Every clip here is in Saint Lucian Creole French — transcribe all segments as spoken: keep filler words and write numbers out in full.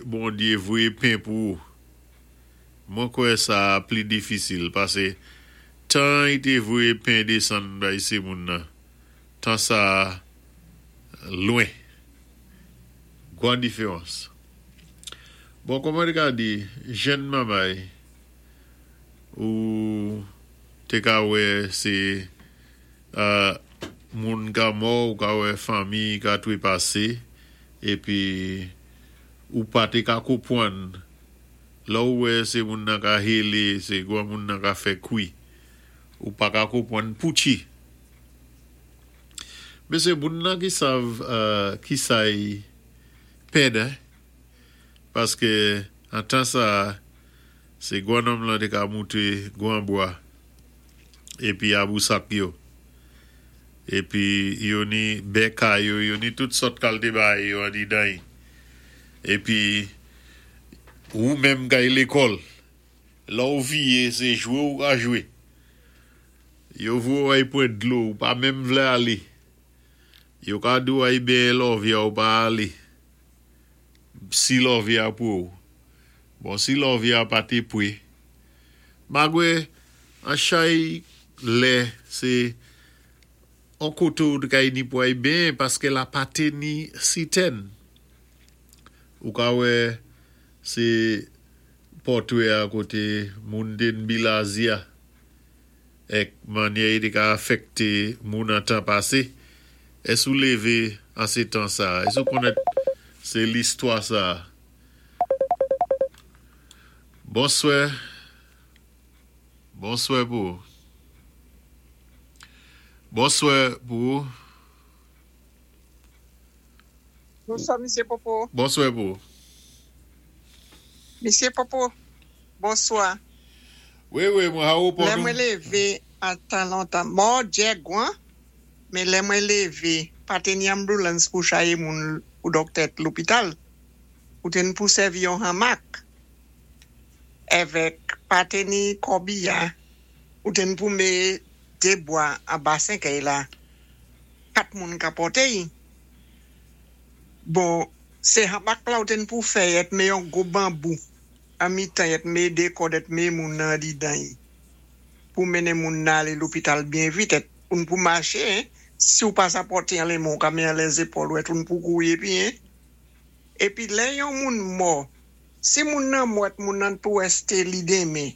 Bondyé voyé pen pou ou. Mwen kwè sa pli difisil pasé tan i té voyé pen désann bay sé moun nan. Tan sa lwen. Gwan diféwans. Bon, kòman té ka di, jenn manmay ou té ka wè sé euh, moun ka mò ou ka wè fanmi ka twépasé épi ou pa té ka konpwann lè ou wè sé moun nan ka hélé, sé gwan moun nan ka fè kwi. Ou pa ka konpwann poutchi. Mé sé moun nan ki sav euh, ki sa-y pèd, hein? Paské an tan sa sé gwan nonm lan té ka mouté gwan bwa épi a bousak yo. Épi yo ni bè kay yo, yo ni tout sòt kalité bagay yo andidan-y. Épi ou menm kay lékòl, lè ou viyé sé jwé ou ka jwé. Yo voyé ou ay pwan dlo, ou pa menm vlé alé. Yo ka di ou ay benyen lòvyè ou pa alé. Si lòvyè a pwé ou. Bon, si lòvyè a pa té pwé. Magwé, an chay lè, sé an koté ou kay ni pou ay benyen paské la pa té ni sitèn. Ou ka wè sé pòtwé a koté moun té bilazya èk mannyè i té ka afèkté moun an tan pasé. Ès ou lévé an sé tan sa? Ès ou konnèt sé listwa sa? Bonswè. Bonswè pou ou. Bonswè pou ou. Bonswa, Misyé Popo. Bonswè pou ou. Misyé Popo, bonswa. Wi, wi, mwen ha ou Lè pou mwen nou. lévé an tan lontan, mò djè gwan, mé lè mwen lévé, pa té ni ambulance pou chayé moun ou dòktè lopital. Ou té ni pou sèvi yon hamak. Èvèk pa té ni kòbiya, ou té ni pou mé dé bwa anba sèkèy la. Kat moun ka pòté-y. Bon, sé hamak la ou té ni pou fè èt mé yon gwo banbou. An mitan èt mé dé kòd èt mé moun nan didan-y. Pou mennen moun nan alé lopital byen vit èt ou ni pou maché, hein. Si ou pa sa pòté an lè men, ou ka mé an lè zépòl ou èt ou ni pou kouwi épi, hein. Épi lè yon moun mò, si moun nan mò èt moun nan pou èsté li denmen,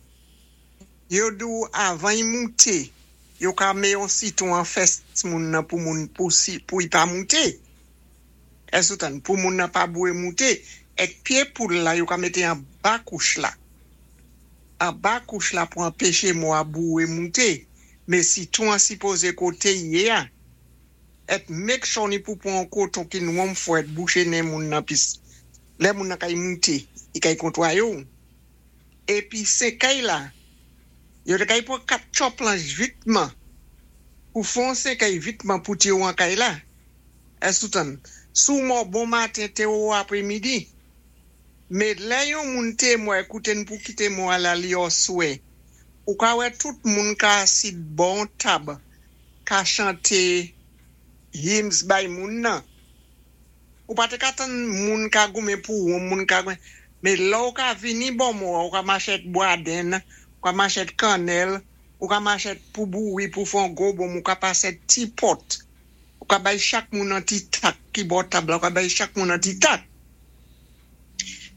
yo di ou avan i mouté, yo ka mé yon sitwon an fès moun nan pou moun pou si pou i pa mouté. Ès ou tann, pou moun nan pa bouwé mouté, èk pyé poul la yo ka mété anba kouch la. Anba kouch la pou anpéché mò a bouwé mouté. Mé sitwon an sipozé koté i yé a. Èt make sure ni pou pwan koton ki nwonm fò èt bouché nen moun nan pis. Lè moun nan kay mouté, i kay kontwaye ou. Épi sèkèy la, yo té kay pwan kat tcho planch vitman. Pou fon sèkèy vitman pou té ou an kay la. Ès ou tann, sou mò bon maten té ou apré midi. Mé lè yon moun té mò ékoute n pou kité mò a la li oswè. Ou ka wè tout moun ka asid bò tab, ka chanté hymns bay moun nan. Ou pa té ka tann moun ka goumen pou ou, moun ka goumen. Mé lè ou ka vini bò mò, ou ka machèt bwadenn, ou ka machèt kannèl, ou ka machèt pou bouwi, pou fon gwo bonm, ou ka pasé ti pòt. Ou ka bay chak moun an ti tak ki bò tab la, ou ka bay chak moun an ti tak.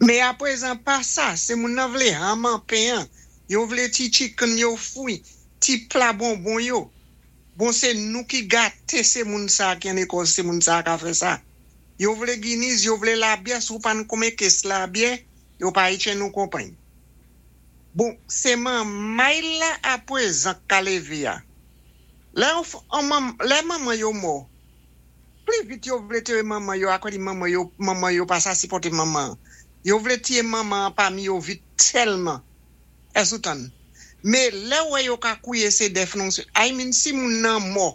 Mé aprezan pa sa, sé moun nan vlé ham an pen, yo vlé ti chicken yo fwi, ti pla bonbon yo. Bon, sé nou ki gaté sé moun sa ki an Ékòs, sé moun sa ka fè sa. Yo vlé Guinness, yo vlé labyè, si ou pa n konmen kès labyè, yo pa itche nou konpay. Bon, sé manmay la aprezan ka lévé a. Lè, an mam, lè manman yo mò, pli vit yo vlé téyé manman yo, akò di manman yo, manman yo pa sa sipòté manman. Yo vlé tiyé manman pami yo vit tèlman. Ès ou tann. Mé lè wè yo ka kouwiyé sé dèf non, I mean, si moun nan mò,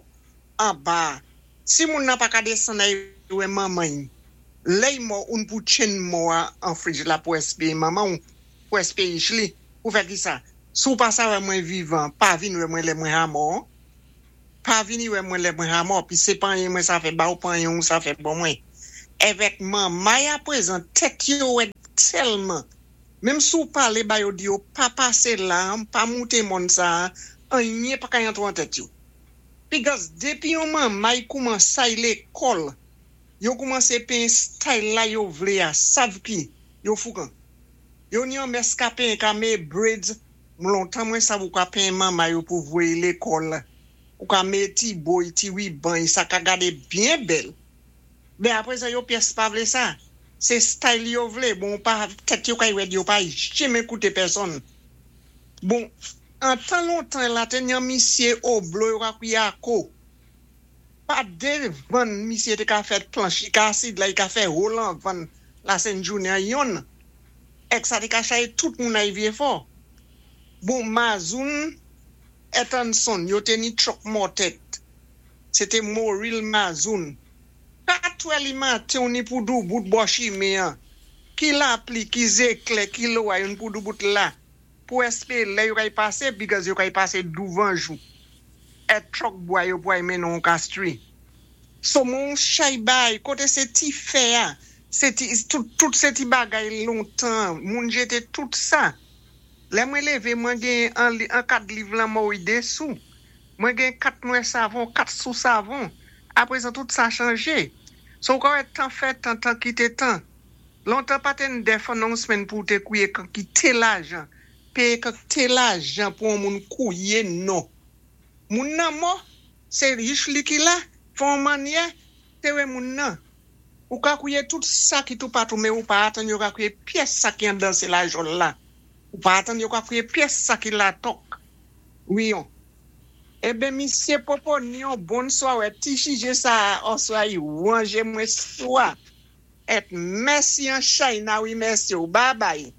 anba, si moun nan pa ka désann ay wè manman, lè y mò ou pou tchenn mò a an fridge la pou espéyé manman ou, pou espéyé li, pou fè ki sa? Sou pa sa wè mwen vivan, pa vin wè mwen lè mwen ha mò, pa vini wè mwen lè mwen ha mò, pi sé pa anyen mwen sa fè ba ou pa anyen ou sa fè bon mwen. Èvèk manmay apwézan, tèt yo wèd tèlman. Menm si ou palé ba yo di yo pa pasé la, pa mouté mòn sa, anyen pa ka antwé an tèt yo. Because dépi yon manmay koumansé lékòl, yo koumansé penyen style la yo vlé a, sav ki, yo foukan. Yo ni yon mès ka penyen ka mé braids, lontan mwen sav ou ka penyen manmay yo pou voyé lékòl. Ou ka mé ti bow, ti riban, sa ka gadé byen bèl. Ben apwé sa yo pyès pa vlé sa. Sé style yo vlé, bon pa tèt yo kay wèd yo pa janmen kouté pèsonn. Bon, an tan lontan la té ni yon misyé Oblo yo ka kwiyé ako. Pa dévan misyé té ka fè planch, i ka asid la, i ka fè rolan van la sen jounen yon. Èk sa té ka chaye tout moun ay vyé fò. Bon, Mazoun Etanson, yo té ni truck mòtèt. Sé té Moril Mazoun. Katwè li maten ou ni pou doubout bò chimen an. Ki lapli, ki zéklè, ki loway, yon pou doubout la. Pou èspé lè yo kay pasé, because yo kay pasé douvan jou. Èt truck bwa yo pou ay mennen Castries. So moun chay bay, koté sé ti fè a, sé ti, tout, tout sé ti bagay lontan, moun jété tout sa. Lè mwen lévé, mwen gen an, an kat liv lan mò désou. Mwen gen kat nwè savon, kat sou savon. Apwézan tout sa chanjé. So kwa wè tan fè tan, tan kité tan. Lontan pa té death announcement pou té kouwiyé kité lajan. Péyé kité lajan pou an moun kouwiyé, non. Moun nan mò, sé rich li ki la, fon manyè, té wè moun nan. Ou ka kouwiyé tout sa ki tou patou, mé ou pa atan yo ka kouwiyé pyès sa ki an dan sé la jòl la. Ou pa atan yo ka kouwiyé pyès sa ki la tok. Wi yon. Eben, misyé Popo ni yon bonswa wè, ti chijé sa oswa yi wanje mwen swa. Èt mèsi an China wi mèsi ou. Bye bye.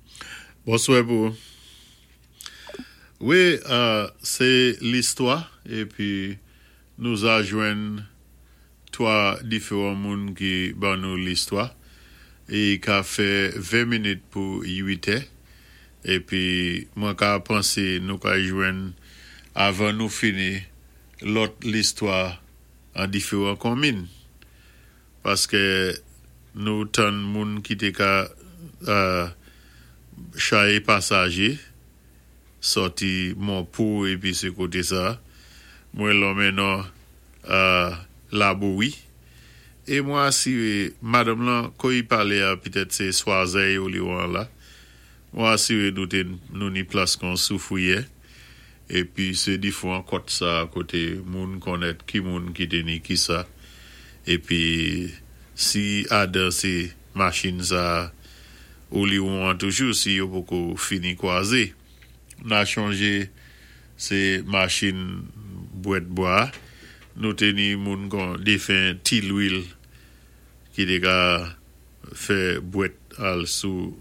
Bonswa pou. Wi, euh, sé listwa épi nou a jwenn twa diféwan moun ki ban nou listwa é ka fè ven minit pou uit è épi mwen ka pansé nou ka jwenn avan nou fini lòt listwa an diféwan konmin paské nou tann moun ki té ka euh, chaye pasajé sòti Monpo épi sé koté sa mwen lonmen non euh, Labowi é mwen asiré madanm lan kon i palé a pitèt sé Swazey ou li wan la mwen asiré nou té nou ni plas kon soufwiyè épi sé diféwan kòt sa koté moun konnèt ki moun ki té ni ki sa épi si adan sé machin sa ou li wan toujou si yo poko fini kwazé na chanjé sé machin bwèt bwa nou té ni moun kon défen ti lwil ki té ka fè bwèt al sou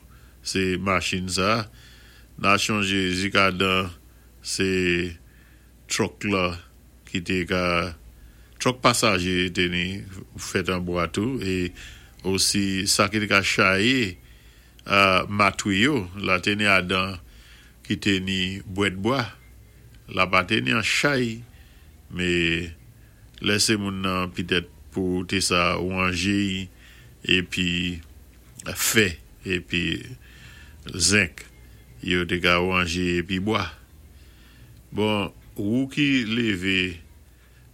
sé machin sa na chanjé jikadan sé truck la ki té ka truck pasajé té ni fèt an bwa tou é osi sa ki té ka chaye euh, matwi yo la té ni adan ki té ni bwèt bwa la pa té ni an chay mé lèsé moun nan pitèt pou té sa wanjé épi fè épi zenk yo té ka wanjé épi bwa. Bon, ou ki lévé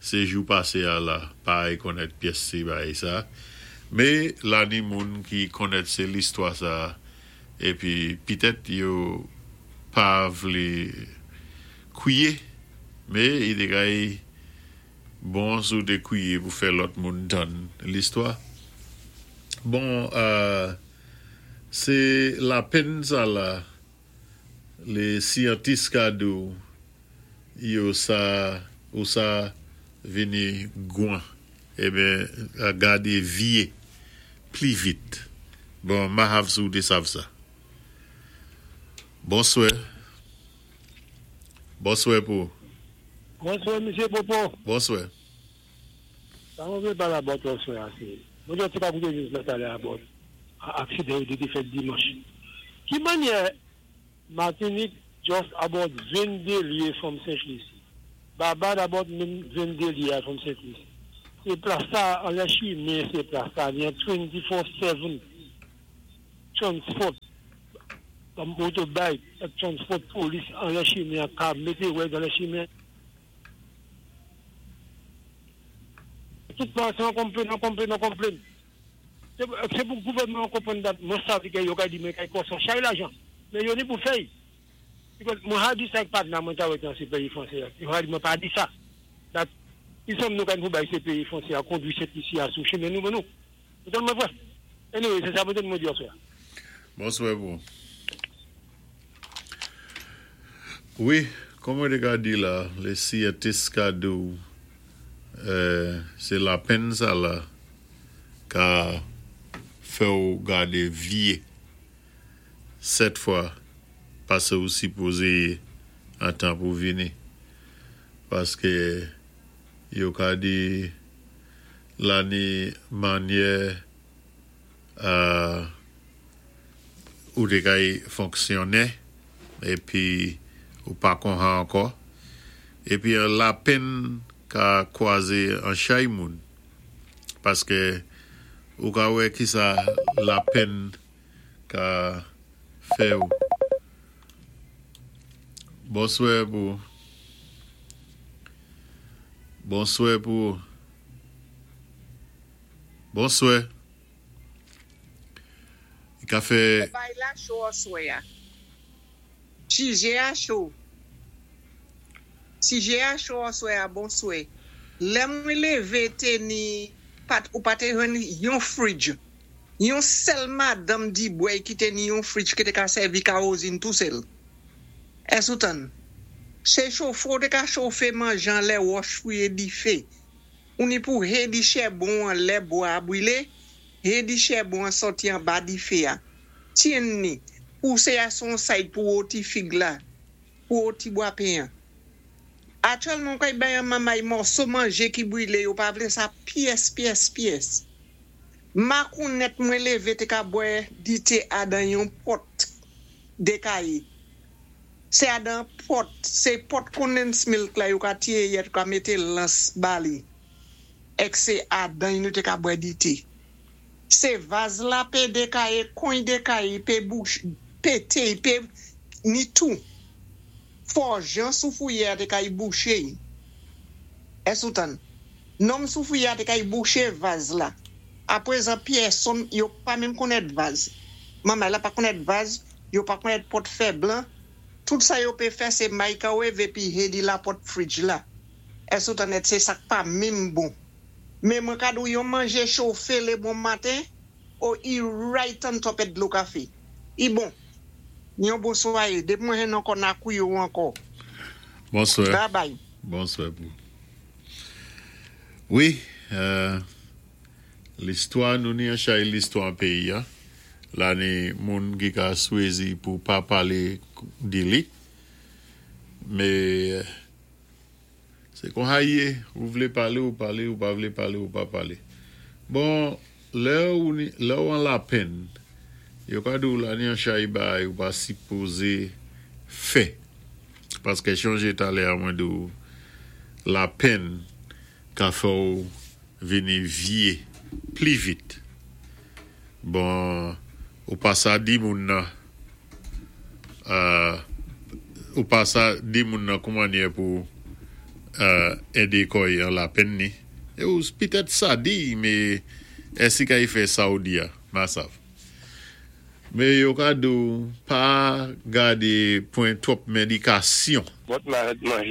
sé jou pasé a la, pa konnèt pyès sé bagay sa, mé la ni moun ki konnèt sé listwa sa épi pitèt yo pa vlé kwiyé, mé i té kay bon si ou té kwiyé pou fè lòt moun tann listwa. Bon, euh, sé lapenn sa la, lé syantis ka di ou, yo sa, ou sa vini gwan, eben, a gadé vyé pli vit. Bon, ma hav si ou té sav sa. Bonswè. Bonswè pou. Bonswè, Misyé Popo. Bonswè. Sa mwen vlé pala about bonswè asé. Mwen jòt sé pa kouté news la talè about aksidan yo té fèt dimanch. Ki manyè Martinique just about venndé lyé from Saint Lucie. Barbade about menm venndé lyé from Saint Lucie. Sé plas sa, anlè chimen, sé plas sa, ni twenty-four seven transport, motorbike, transport polis anlè chimen, ka mété wè anlè chimen. Tout tan, sé an konplenn, an konplenn, an konplenn. Sé pou gouvèdman konpwann dat mwen sav ki yo ka di mwen kay kòs an chay lajan. Men yo ni pou fèy. Because mwen ha di sa ak patna mwen ta wè nan sé péyi fransé. Yo ha di mwen pa di sa. Dat, i som nou kan pou bay sé péyi fransé a kondwi Sent Lisi a sou chimen nou ban nou. Mwen mwen vwè. Anyway, sé sa mwen mwen di aswè. Bonswè pou. Wi, kòm mwen té ka di la, lé syantis ka di ou, euh, sé lapenn sa la ka fè ou gadé vyé sèt fwa pasé ou sipozé an tan pou vini. Paské yo ka di la ni mannyè euh, ou té kay fonksyonné épi ou pa kon sa ankò. Épi an lapenn ka kwazé an chay moun. Paské ou ka wè ki sa lapenn ka fè ou. Bonswè pou. Bonswè pou. Bonswè. I ka fè Bay la cho aswè a. Sijè a cho. Sijè a cho aswè a, bonswè. Lè mwen lévé té ni pat ou pa té jwenn yon fridge. Yon sèl madanm Dibwèy ki té ni yon fridge ki té ka sèvi kawozin tou sèl. Ès ou tann? Sé chofé ou té ka chofé manjé anlè wòch fouwé difé. Ou ni pou hédi chèbon an lè bwa a bwilé, hédi chèbon an sòti anba difé a. Tyenn ni, pousé a son side pou wòti fig la, pou wòti bwa pen an. Aktyèlman kay bay an mamay mòso manjé ki bwilé, yo pa vlé sa pyès, pyès, pyès. Makounèt mwen lévé té ka bwè dité adan yon pòt dékayi. Sé adan pòt, sé pòt condensed milk la yo ka tiye yèt ka mété lans ba li. Ek sé adan nou té ka bwè dité. Sé vaz la pé dékaye, kony dékaye, pé bouch, pété, pé ni tou. Fò jan sou fouye a té kay bouché. Ès ou tann? Nonm sou fouye a té kay bouché vaz la. Apré pèsonn yo pa menm konnèt vaz. Manman la pa konnèt vaz, yo pa konnèt pòt fè blan. Tout sa yo pé fè sé microwave épi hédi la pòt fridge la. Ès ou tann? Sé sa pa menm bon. Men mwen ka di ou yon manjé chofé lé bon maten, ou i right on top et dlo kafé. I bon. Yon bonswa, dépi mwen jwenn ankò na kou yo ankò. Bonswè. Bye bye. Bonswè pou. Wi, euh, listwa nou ni an chay listwa an péyi an. La ni moun ki ka swézi pou pa palé di li. Mais sé kon sa i yé, ou vlé palé ou palé, ou pa vlé palé ou pa palé. Bon, lè ou, ni, lè ou an lapenn, yo ka di ou la ni an chay bay ou pa sipozé fè. Paské chonjé talè a mwen di ou lapenn ka fè ou vini vyé pli vit. Bon, ou pa sa di moun nan, euh, ou pa sa di moun nan kouman yé pou euh, édé kò'y an lapenn ni. É ou pitèt sa di, mé èsi ka y fè sa ou di a, ma sav. Mé yo ka di ou pa gadé pwan twòp médikasyon. Bòt ma manje.